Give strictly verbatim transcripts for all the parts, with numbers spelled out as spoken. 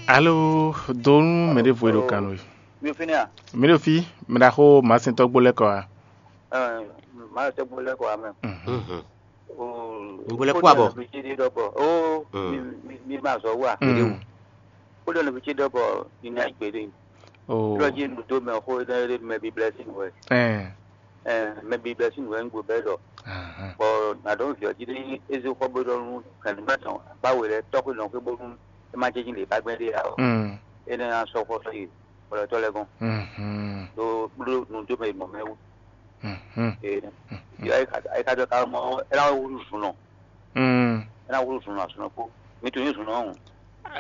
Alo, donu mɛ ɖěvo e ɖo kan nú we. Mi fínɛ́ a? Mi ɖo fí, mɛ ɖaxó Màsintɔ́gbó lɛ́ kɔ wá. Ɛɛ, Màsintɔ́gbó lɛ́ kɔ wá mɛ. Mhm. Nugbo lɛ́ kó abɔ. Mi ɖɔ bɔ o, mi mi ma zɔ wá. Mm. Kó ɖɔ nɔví ce ɖɔ bɔ mi ná gbede. O. Lɔ jí nu dó mɛ xó ɖe ɖe mɛ bíblɛ́ sín wɛ. Ɛɛ. Ɛɛ, mɛ bíblɛ́ sín wɛ ń gbó bɛ́ ɖɔ. Ahan. Bɔ nǎ ɖɔ vǐ ɔ́ jí ɖé eze xɔ bó ɖɔ nú kɛnìmá tɔn akpá we lɛ́ɛ tɔ́ xwé nɔ xwé bónú é má jɛ́ jí lě bá gbɛn ɖé ǎ ɔ́. Mm. É ná sɔ́ xɔ sɔ́ yi xwlɛtɔ́ lɛ́ɛ gɔ́n. Mhm. Ɖó bló nu dó mɛ mɔ mɛ wú. Mhm. Ee, ayika dɔ ka mɔ é ná wúlú zun nɔ. Mm. É ná wúlú zun nɔ azun nɔ kpó. Mi to ní zun nɔ ɔ́.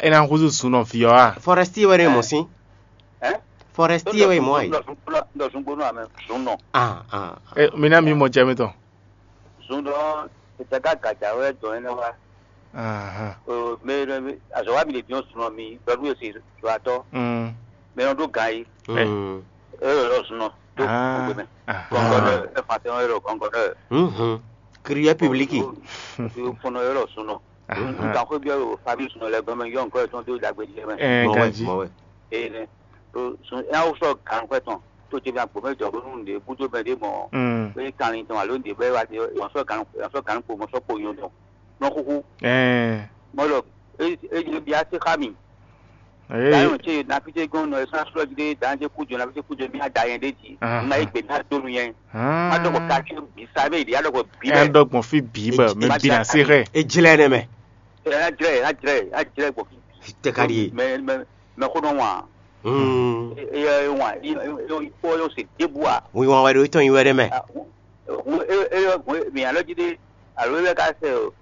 É ná húzú zun nɔ vǐ ɔ́ a? Forestier wɛ ɖe mɔ sín. Ɛ? Forestier wɛ mɔ ayi. Ɖɔ zun gbónú amɛ zun nɔ. Ah, ah. E, mi ná mi mɔ jɛ mi tɔn. Zun dɔ tete ka gaja wɛ dɔn ɛnɛ wa. Ahan. O, mɛ mɛ azɔ wa mi le diɔn zun nɔ mi dɔ nu esi zɔ atɔ. Mm. Mɛ nɔ ɖo gan yi. Mm. E yɔ lɔ zun nɔ do Ah, gbogbo mɛ. Ahan. Gɔngɔdɔ e fa tɛ yɔ gɔngɔdɔ. Mhm. Crier public. Fɔnɔ yɔ lɔ zun nɔ. Ahan. Nkan xwé biɔ famille zun nɔ lɛ gɔmɛ yɔ nkɔ etɔn do dagbe jɛ mɛ. Ɛ Mɔ wɛ, ganji. Mɔ wɛ. Ee nɛ. Sun ɛna wosɔ gan xwɛ tɔn tó tsi mi agbo mɛ jɔ bónú nǔɖé búdó mɛ ɖé mɔ Mm. Bóyá kanlin tɔn alo nǔɖé bɔ é wá dé ɔn sɔ gan ɔn sɔ gan kpo mɔ sɔ kpo yɔn tɔn nɔ xúxú Ɛɛ. Mɔ lɔ é é bia sí xá mi Ee. Dayɔn tse nafi tse gɔn nɔ ɛsán sɔlɔ jí dé dan tse kú jɔ nafi tse kú jɔ mi ada yɛn ɖé dzi Ahan. Nna é gbè mi adó nu yɛn má dɔgɔ Hàn. Kasi bi sa mɛ ìdí adɔgɔ bi Ɛ lɛ dɔgbɔn fi bì bɔ mɛ bi na se xɛ. Ejlɛ nɛ mɛ. Ɛ na jlɛ na jlɛ na jlɛ gbɔ fi Tɛ ka di ye. Mɛ mɛ mɛ xó nɔ wan Mm. Eye wan kpɔ yɔ se débua. Wi wan wɛ ɖo itɔn yi wɛ ɖe mɛ. Eyɔ gun mi alɔ jí ɖe alo ewɛ ka sɛ o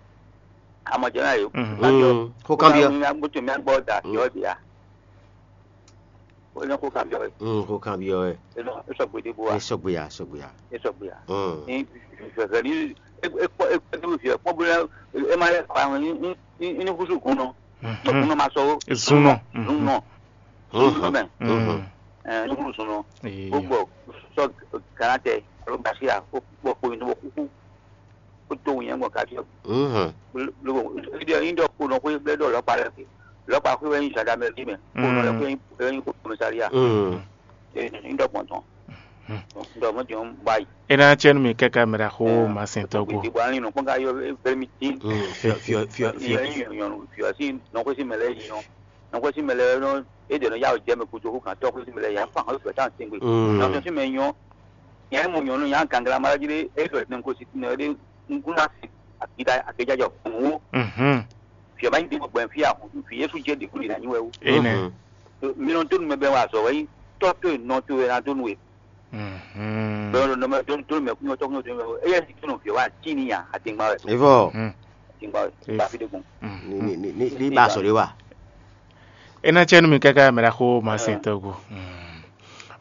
amɔjɛ na yo. Mm. Xó kan biɔ. Mutu mi agbɔ da fiɔ dia. O ne xó kan biɔ. Mm, xó kan biɔ ɛ. E sɔgbe débua. E sɔgbe ya, sɔgbe ya. E sɔgbe ya. Mm. Ni fɛfɛ ni ekpɔ ekpɔ ni fiɔ kpɔ bo e ma lɛ kpa ni ni ni kusu kun nɔ. Kun nɔ ma sɔ o. Zun nɔ. Zun nɔ. Zun nɔ mɛ. Mm. Ɛɛ nuhun zun nɔ. Ee. Gbogbo sɔ gana tɛ alo gasi a ko kpɔ ko yin nɔ kuku ko to yin gbɔn kasi. Mhm. Lobo ebi yin dɔ ko nɔ ko blɛ dɔ lɔkpa lɛ ke lɔkpa ko wɛ yin gendarmerie mɛ ko nɔ lɛ ko yin ko commissariat. Mhm. Ee yin dɔ gbɔn tɔn. Dɔ mɔ jɔn ba yi. E na cɛ nu mi kɛkɛ mɛ ɖa xo ma sɛn tɔ ko. Gbogbo ani nɔ kpɔn ka yɔ bɛrɛ mi tin. Fiɔ fiɔ fiɔ fiɔ. Yɔ yin yɔ yɔ fiɔ si nɔ ko si mɛ lɛ yin yɔ. Nɔkwɛ́ sín mɛ lɛ́ɛ nɔ é ɖě nɔ yá wǔ jɛ mɛ gúdo hú gǎn tɔ́ xwé sín mɛ lɛ́ɛ yǎ fan xwé fɛ́ tán tɛ́ngbé. Nɔ tɔn sín mɛ nyɔ́, nyɛ mɔ nyɔ̌nu nyá gangla ma jí ɖé é ɖɔ nɔ gosín mɛ ɖé un kún ná se akída akéjájɔ hǔn wó. Fǐ ɔ́ má nyí ɖěbǔ gbɛn fí a hǔn fí Yésu jɛ ɖě kúɖi ná nyí wɛ wú. Amen. Mi nɔ dó nu mɛ bɛn wɛ azɔ̌ wɛ nyí tɔ́ towe nɔ towe ná dó nu we. Bɛn nɔ mɛ dó nu mɛ kúnyɔ tɔ́ kúnyɔ dó nu mɛ wɛ éyɛ́ sì kí nɔ fǐ ɔ́ wá cí ní nya adingba wɛ. Evɔ. Adingba wɛ. Ba fi ɖé gbɔn. Ní ní ní ní ba sɔ ɖé wa. É ná cɛ nú mi káká mɛ ɖaxó Masɛntɔ́ go.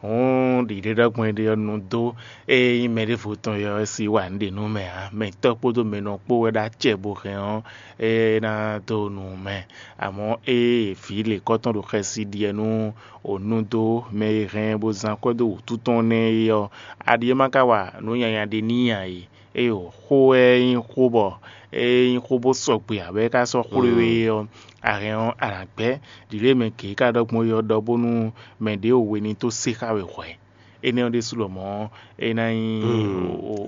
Hǔn ɖiɖe ɖɔgbɔn ɖe ɔ́ nu dó ée nyí mɛ ɖěvo tɔn ɔ́ sí wa nǔɖé nú mɛ ǎ. Mɛ tɔ́ kpódó mɛ nɔ kpó wɛ ɖó acɛ bó hɛn ɔ́, é ná dó nu mɛ. Amɔ̌ ée vǐ lěkɔ́tɔn ɖo xɛsi ɖiɛ nú ònú dó mɛ e hɛn bó zán akwɛ́ dó wǔtu tɔn nɛ́ é ɔ́, aɖi é má ka wa nǔ nyanya ɖé n'i ǎ é. Ée xó wɛ nyí xó bɔ é nyí xó bó sɔgbe ǎ bɔ é ka sɔ́ xwlé we ɔ́, a hɛn ɔ́, a nǎ gbɛ́. Ɖǐɖó e mɛ gěgé ka ɖɔ gbɔn é ɔ́ ɖɔ bónú mɛ ɖěvo we ní tó se xá we hwɛ̌. Énɛ́ ɔ́ ɖésú lɔmɔ̌ é ná nyí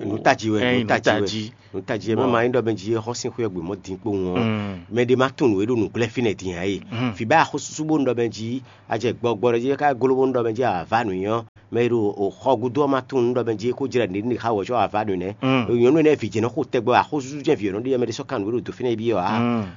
nǔ tají wɛ, nǔ tají wɛ. Nǔ tají wɛ. Má ma nyí ɖɔ mɛ jí é xɔ sín xwé ɔ́ gbe mɔ̌ dín kpowun ɔ́, mɛ ɖé má tunwun nǔ e ɖo nǔgblɛ́ fínɛ́ din ǎ é. Fǐ bá axɔ́súsú bónú ɖɔ mɛ jí a jɛ gbɔgbɔ ɖɔ jí é ká gló bónú ɖɔ mɛ jí a vǎ nǔ nyɔ́. Mɛ e ɖo xɔ gúdo ɔ́ ma tunwun nú ɖɔ mɛ jí é kó jlɛ nǔɖé nú xá wɛ có a vǎ nǔ nɛ́. Nyɔ̌nu énɛ́ vǐ jɛ́n nɔ xo tɛgbɛ axɔ́súsú jɛ́n vǐ ɔ́ nɔ ɖe mɛ ɖé sɔ́ kan nǔ e ɖo dǒ fínɛ́ é byɔ́ ǎ.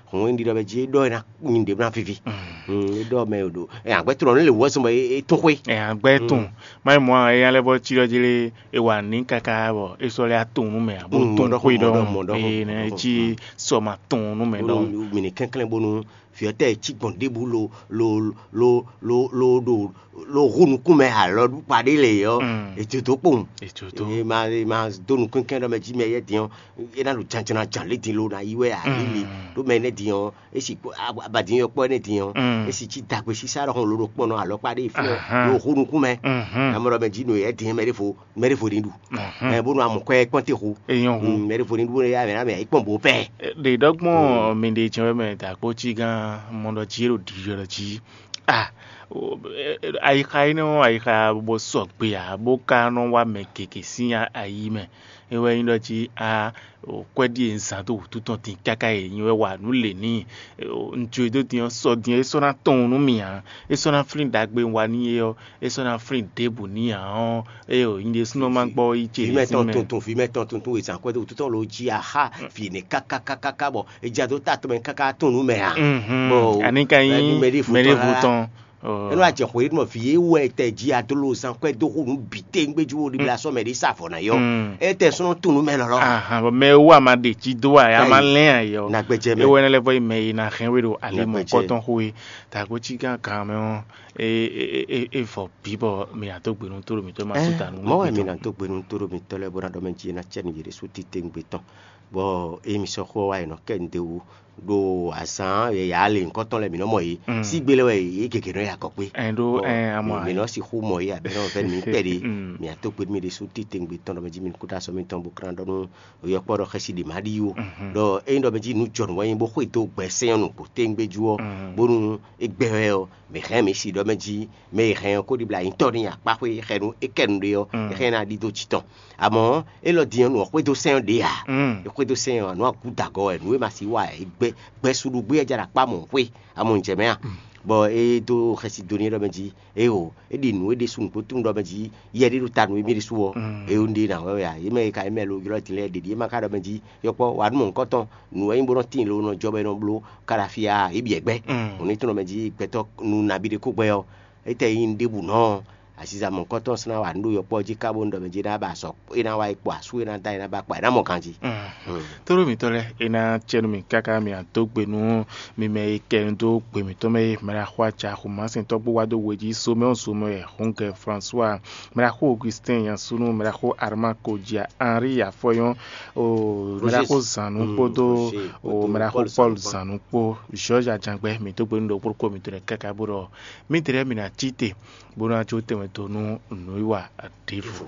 Hǔn é ɖi ɖɔ mɛ jí é ɖɔ é ná nyi ɖě ná víví. É ɖɔ mɛ ɖo àgbɛ́ tlɔ nú lě wú wɛ zɔn bɔ é tún xwé. Àgbɛ́ tún má nyí mɔ̌ ǎ, é nya lɛ́ bɔ cí ɖɔ jí lé é wa ní káká bɔ é sɔ́ lɛ́ á tunwun nú mɛ ǎ bó tún xwé ɖɔhun. Ée nɛ́ é cí sɔ ma tunwun nú mɛ ɖɔhun. Mì ní kɛnklɛ́n bónú fiɔtɛ́ cí gbɔn ɖěbǔ lo lo lo lo lo ɖo lo hu nukún mɛ alɔ ɖukpa ɖé lɛ ɔ́, ètò tó kpowun. Ètò tó. E ma e ma dó nukúnkɛn ɖɔ mɛ jí mɛ yɛ din ɔ́, e ná ɖo janjana jan lé din lo na yi wɛ alili ɖó mɛ nɛ din ɔ́, esi abadin yɔ kpɔ nɛ din ɔ́, esi cí dagbe sisa ɖɔ hɔn lo ɖo kpɔnɔ alɔkpa ɖé fi ɔ́ lo hu nukún mɛ. Amɔ ɖɔ mɛ jí no yɛ din mɛ ɖé fo mɛ ɖé fo ní ɖu. Ɛ bónú amɔ kɔ ɛ kpɔn te xo. Eyɔn hu. Mɛ ɖé fo ní ɖu ya mɛ na mɛ yi kpɔn bo pɛ. Ɖe ɖɔgbɔn mi ɖe jɛn wɛ mɛ dagbo cí gán. Mɔ ɖɔ jí é ɖo ɖiɖɔ ɖɔ jí a ayixa énɛ́ ɔ́ ayixa bó sɔgbe ǎ bó ka nɔ wá mɛ gěgé sín ayi mɛ. É wɛ nyí ɖɔ jí a kwɛ́ ɖíe un zán dó wǔtu tɔn din káká e nyi wɛ wa nǔ lě n'i. Un jó e dó din ɔ́ sɔ din é sɔ́ ná tɔn nú mì ǎ. É sɔ́ ná flín ɖagbe un wa n'i é ɔ́, é sɔ́ ná flín ɖěbǔ n'i ǎ ɔ́, é o nyí ɖésúnɔ ma gbɔ yi ce vǐ mɛ tɔn tuntun vǐ mɛ tɔn tuntun e zǎn kwɛ́ dó wútu tɔn lo jí axá vǐ nɛ kákákákáká bɔ è ja dó ta tɔn mɛ káká tɔn nú mɛ ǎ. Ani ka nyí mɛɖévú tɔn. Énú ajɛ xwe ɖé mɔ vǐ e wɛ tɛ jí adolo zán kwɛ́ dó xo nú bǐ téŋgbéjú wo ɖibla sɔ́ mɛ ɖé sa avɔ ná yɔ. É tɛ sɔ́ nɔ tɔn nú mɛ lɔlɔ. Ahan bɔ mɛ e wú a ma ɖe jí dó a ya ma lɛn a yɔ. Nagbɛjɛ mɛ. Ewɔ ɛnɛ lɛ vɔ yi mɛ yi na hɛn we ɖo ali mɔ kɔtɔn xo e. Tago cí gán kan mɛ ɔ́ e e e e vɔ bí bɔ mi ná dó gbe nú tóɖo mǐtɔn ma sú ta nú mɔ wɛ mi ná dó gbe nú tóɖo mǐtɔn lɛ́ɛ bó ná ɖɔ mɛ jí e ná cɛ nǔ yě ɖésú titewungbe tɔn. Bɔ é mi sɔ́ xó wa yi nɔ kɛ nǔɖé wú ɖo azǎn yǎyá lě nyǐkɔ tɔn lɛ́ɛ mǐ nɔ mɔ yě. Sígbe lɛ́ɛ wɛ yě gěgé nɔ yi akɔ kpé. Ɛn ɖó ɛn amɔ mǐ nɔ sixú mɔ yě abɛ nɔ vɛ́ mi kpɛɖé. Mǐ ató kpé mì ɖésú titewungbe tɔn ɖɔ mɛ jí mi kúta sɔ́ mitɔn bó krán ɖɔ nú yɔkpɔ́ ɖɔ xɛsi ɖě má ɖi ó. Ɖɔ ényí ɖɔ mɛ jí nǔ jɔnǔ wɛ nyí bó xwedó gbɛsɛn ɔ́ nǔgbó téŋgbéjú ɔ́, bónú é gbɛ wɛ ɔ́, mǐ hɛn mǐ si ɖɔ mɛ jí mɛ e hɛn ɔ́ kó ɖibla nyitɔ́ n'i akpáxwé xɛnu é kɛ nu ɖe ɔ́, é hɛn ná ɖidó jǐ tɔn. Amɔ̌, élɔ́ din ɔ́, nǔ ɔ́ xwedó sɛn ɔ́ ɖě ǎ. É xwedó sɛn ɔ́, nǔ ɔ́ gúda gɔ́ wɛ, nǔ e ma sixú wa ɛ, gbɛ gbɛsuɖugbí ɔ́ jɛ ɖo akpá mɔ̌ xwé, amɔ un jɛ mɛ a? Bɔ é dó xɛsi do n'i ɖɔ mɛ jí, éeǒ, é ɖi nǔ é ɖésú nǔgbó tunwun ɖɔ mɛ jí yɛ ɖé ɖo ta nǔ émí ɖésú ɔ́, é ɖe ná wɛ wɛ a? Yě mɛ e ka nyí mɛ lo ylɔ́ din lɛ́ɛ ɖě ɖíe ma ka ɖɔ mɛ jí yɔkpɔ́ wa nú mɔ̌hunkɔtɔn nǔ wɛ nyí bó nɔ́ tíin lo nɔ jɔ bɔ é nɔ bló káɖafíá é byɔ̌ gbɛ́. Hǔn ní tunɔ mɛ jí gbɛtɔ́ nú nabí ɖé kó gbɛ́ ɔ́, étɛ́ nyí ɖěbǔ nɔ ɔ́, aziza mɔ̌hunkɔtɔn ɔ́ sɔ́ ná wa nǔ ɖo yɔkpɔ́ jí ká bónú ɖɔ mɛ jí ná ba sɔ é ná wá yi kpo asú é ná dá é ná ba kpa é ná mɔ ganjí. Tóɖó mǐtɔn lɛ́ɛ é ná cɛ nú mì káká mì adó gbe nú mi mɛ e kɛ nu dó gbe mǐtɔn mɛ é, mɛ ɖaxó aca xomásɛntɔ́ bó wá dó we jí somɛ́ ɔ́ somɛ́ wɛ Hungɛ François, mɛ ɖaxó Augustin Yansunu, mɛ ɖaxó Armand Kodjia, Henri Afɔyɔn, mɛ ɖaxó Zanu kpódó mɛ ɖaxó Paul Zanu kpó, George Ajangbɛ, mǐ dó gbe nú ɖokpó ɖokpó mǐtɔn lɛ́ɛ káká bó ɖɔ mǐtɛn lɛ́ɛ mǐ ná cí te bó ná jó tɛnmɛ dó nú nǔwiwa ɖěvo.